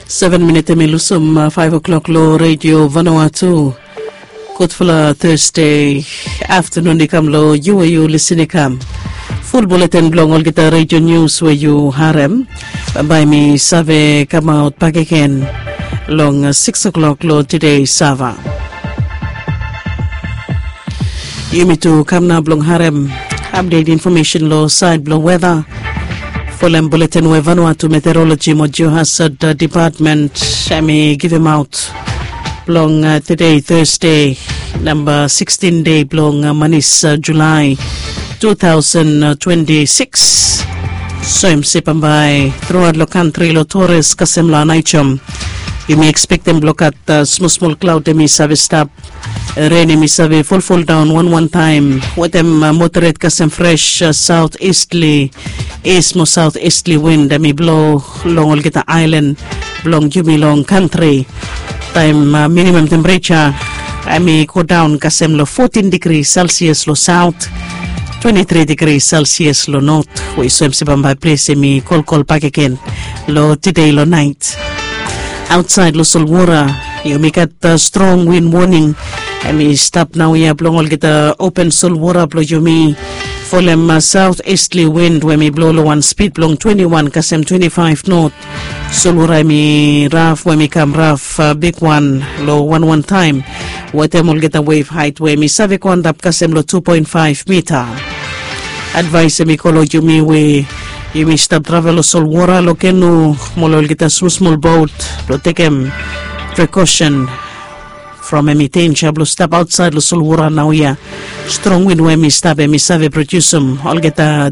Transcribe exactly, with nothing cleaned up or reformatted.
Seven minit em i lusum faiv o'klok long redio Vanuatu. Gudfala Thursday aftanun i kam long yu we yu lisin i kam. Ful buleten bilong olgeta redio nius we yu harem, bambae mi save kamaut bakegen long six o'klok long tide sava. Yumi tu kam nao bilong harem apdet infomesen long sait bilong weda. Folem buleten we Vanuatu Meteorologi mo Geohazard Department em i givimaut bilong tide Thursday, namba sixteen de bilong manis Julai two thousand twenty six. Soem se bambae truaut long kantri long Torres kasem long Anaichom, yumi ekspektem bilong gat smol smol klaut em i save stap. Ren em i save folfol daun wan wan taem wetem moderet kasem fres saut istli, is mo saut istli win em i blo long olgeta ailan bilong yumi long kantri. Taem minimam tempereja em i go daun kasem long fotin digri selsias long saut, twenti tri digri selsias long not, we i soem se bambae ples em i kolkol bakegen long tide long nait. Ausait long solwara yumi gat strong win woning em i stap naoia bilong olgeta open solwara bilong yumi. Folem saut istli win we em i blo long wan spid bilong twenti wan kasem twenti faiv not. Solwara em i raf we em i kam raf bigwan long wan wan taem, wetem olgeta wev hait we em i save go antap kasem long tu poen faiv mita. Advaes em i go long yumi we yumi stap travel long solwara long kenu mo long olgeta smol smol bot, blong tekem prekosen from em i denja blong stap ausait long solwara naoia. Strong win we em i stap em i save produsim olgeta